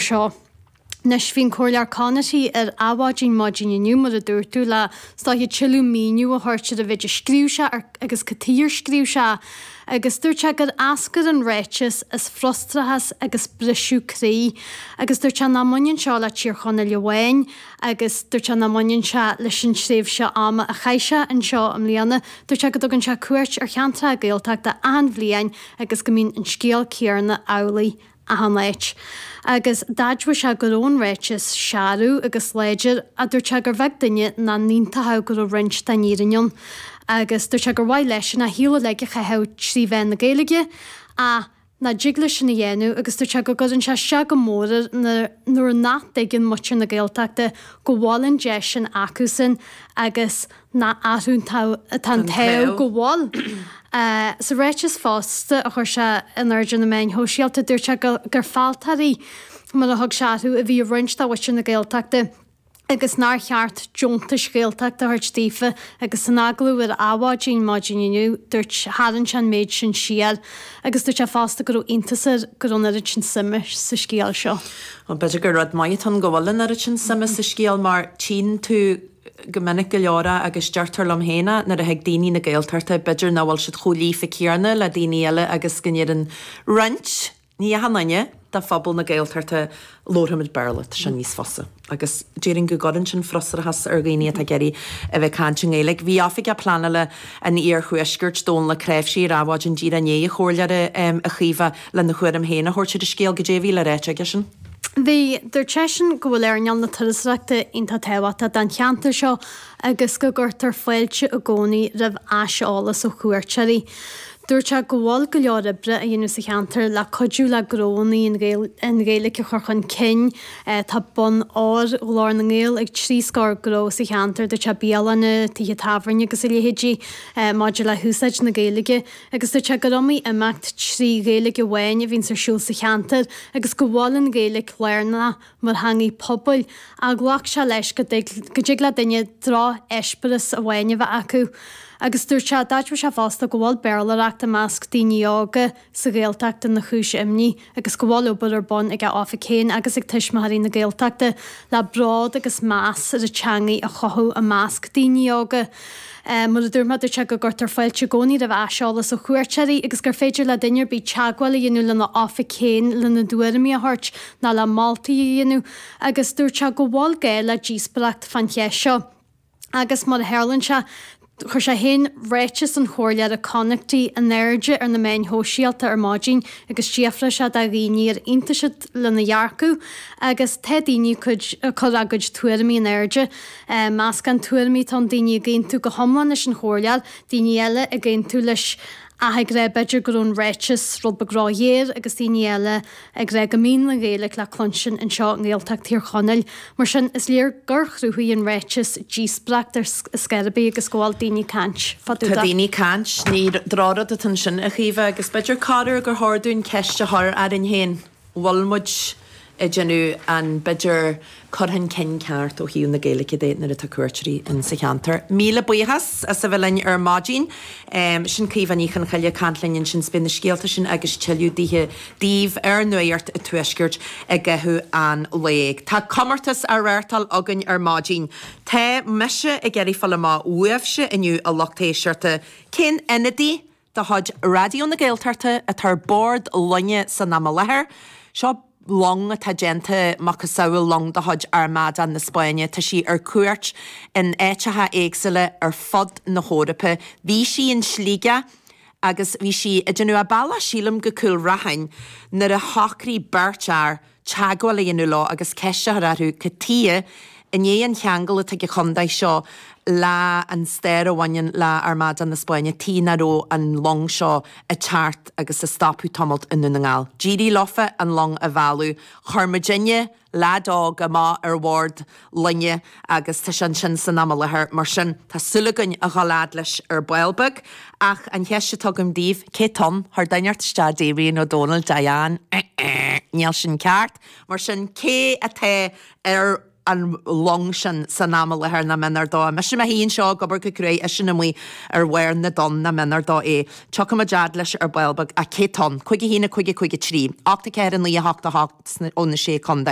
seo. Anois, bhí an Comhairleoir Connaughty ar Adhmhaidin maidin inniu, mar a dúirt tú, le is dóiche tuilleadh míniú a thabhairt ar an mhéid a scríobh sé agus cad chuige ar scríobh sé agus dúirt sé gur eascair an ráiteas as frustrachas agus briseadh croí agus dúirt sé nach mbaineann seo le Tír Chonaill amháin agus dúirt sé nach mbaineann sé leis an tréimhse ama a chaith sé anseo i mbliana. Dúirt sé go dtugann sé cuairt ar cheantracha Gaeltachta achan bhliain agus go mbíonn an scéal céarna amhlaidh achan áit. Agus d'admhaigh sé go raibh an ráiteas searbh agus láidir ach dúirt sé gur bheag duine nach n-aontódh go raibh roinnt den fhírinne ann. Agus dúirt sé gur mhaith leisean a shaol uilig a chaitheamh trí mheán na Gaeilge ach nach dtig leis sin a dhéanamh agus dúirt sé go gcuireann sé isteach go mór air nuair nach dtuigeann muintir na Gaeltachta go bhfuil an deis sin acusan agus nach orthu atá an t-ádh go bhfuil. Sa ráiteas fosta a chuir sé in airde ar na meáin shóisialta, dúirt sé gur fealltóirí, mar a thug sé orthu, a bhí i roinnt de mhuintir na Gaeltachta agus nár cheart deontais Ghaeltachta a thabhairt daofa agus san agallamh ar Adhmhaidin maidin inniu, dúirt, tharraing sé an méid sin siar agus dúirt sé fosta go raibh iontas air go raibh an oiread sin suime sa scéal seo. Bhuel, b'fhéidir gur rud maith atá ann go bhfuil an oiread sin suime sa scéal mar tchíonn tú go minic go leor é agus deirtear liom féin é nuair a thig daoine na Gaeltachta b'fhéidir nach bhfuil siad chomh líofa céanna le daoine eile agus go ndeireann roinnt, ní achan duine, de phobal na Gaeltachta labharfaimid Béarla, tá sé níos fusa. Agus déarfainn go gcuireann sin frustrachas ar dhaoine atá ag iarraidh a bheith ag caint i nGaeilge. Bhí Oifigeach Pleanála an Iarthuaiscirt, Dónal Ó Cnáimhsí, ar Adhmhaidin díreach i ndiaidh an chomhairleora, a Chaoimhe, lena thuairim féin a thabhairt ar an scéal. Goidé a bhí le ráit aigesean? Bhí. Dúirt seisean go bhfuil earnáil na turasóireachta iontach tábhachtach don cheantar seo agus go gcuirtear fáilte i gcónaí roimh aiseolas ó chuairteoirí. Dúirt sé go bhfuil go leor oibre á dhéanamh sa cheantar le cuidiú le gnónna an Ghaeilge a chur chun cinn. Tá bonn óir Ghlór na nGael ag trí scór gnó sa cheantar, dúirt sé, bialanna, tithe tábhairne agus a leithéidí maidir le húsáid na Gaeilge. Agus dúirt sé gur iomaí imeacht trí Ghaeilge amháin a bhíonns ar siúl sa cheantar agus go bhfuil an Ghaeilge lárnach mar theangaidh pobail, ach ghlac sé leis go dtig le duine droch-eispéireas amháin a bheith acu. Agus dúirt sé, d'admhaigh sé fosta go bhfuil Béarlóireacht i measc daoine óga sa Ghaeltacht ina chúis imní agus go bhfuil obair ar bun ag a oifig féin agus ag Tuismitheoirí na Gaeltachta le bród agus meas ar an teangaidh a chothú i measc daoine óga. Mar a dúirt mé, dúirt sé go gcuirtear fáilte i gcónaí roimh aiseolas ó chuairteoirí agus gur féidir le duine ar bith teagmháil a dhéanamh lena oifig féin lena dtuairimí a thabhairt nó le moltaí a dhéanamh agus dúirt sé go bhfuil gá le díospóireacht fán cheist seo. Agus mar a tharlaíonn sé, chuir sé féin ráiteas an Chomhairleora Connaughty in airde ar na meáin shóisialta ar maidin agus d'fhiafraigh sé de dhaoine ar aontaigh siad lena dhearcadh agus tá daoine ag cur a gcuid tuairimí in airde. Meascán tuairimí atá ann, daoine ag aontú go hiomlán leis an Chomhairleoir, daoine eile ag aontú leis ach ag rá b'fhéidir go raibh an ráiteas rud beag róghéar agus daoine eile ag rá go mbíonn an Ghaeilge le cluinstin anseo i nGaeltacht Thír Chonaill. Mar sin, is léir gur chruthaigh an ráiteas díospóireacht ar scor ar bith agus go bhfuil daoine ag caint fá dtaobh Tá de. daoine ag caint, ní drochrud atá ansin, a Chaoimhe, agus b'fhéidir corruair gur chóir dúinn ceist a chur orainn féin. bhfuil muid ag déanamh an, b'fhéidir, cur chun cinn ceart ó thaobh na Gaeilge de nuair atá cuairteoirí in sa cheantar. Míle buíochas as a bheith linn ar maidin. Sin Caoimhe Ní Chonchoille ag caint linn ansin 's beidh na scéalta sin agus tuilleadh daoithe daoibh ar Nuacht an Tuaiscirt i gcaitheamh an lae. Tá comórtas á reáchtáil againn ar maidin. Tá mise ag iarraidh fáil amach uaibhse inniu a lucht éisteachta cén ionadaí de chuid Raidió na Gaeltachta atá ar bord loinge san am i láthair. Seo long atá déanta macasamhail long de chuid Armada na Spáinne. Tá sí ar cuairt in áiteacha éagsúla ar fud na hEorpa. Bhí sí in Sligeach agus bhí sí ag déanamh a bealach sílim go Cúil Raithin nuair a shocraigh beirt fhear teagmháil a dhéanamh leo agus ceist a chur orthu cad tuighe, i ndiaidh an cheangail atá ag an chontae seo le an stair a bhaineann le Armada na Spáinne, tuighe nach raibh an long seo ag teacht agus ag stopadh tamalt i nDún na nGall. D'éirigh leofa an long a mhealladh. Chuir muidinne leaid óg amach ar bhord loinge agus tá sé ansin san am i láthair. Mar sin, tá súil againn a dhul fhad leis ar ball beag. Ach an cheist atá agam daoibh, cé tá ann? Chuir duine inteacht isteach Darian Ó Dónaill, Diane, eh-eh, níl sin ceart. Mar sin, cé atá ar an long sin san am i láthair nach méanar dó é? Mise i mo shuí anseo ag obair go cruaidh, eisean amuigh ar bharr na dtonn, nach méanar dó é. Tiocfaidh muid fhad leis ar ball beag. Ach cé tá ann? 5 1 5 5 3 8 4 9 8 8 ó na Sé Contae.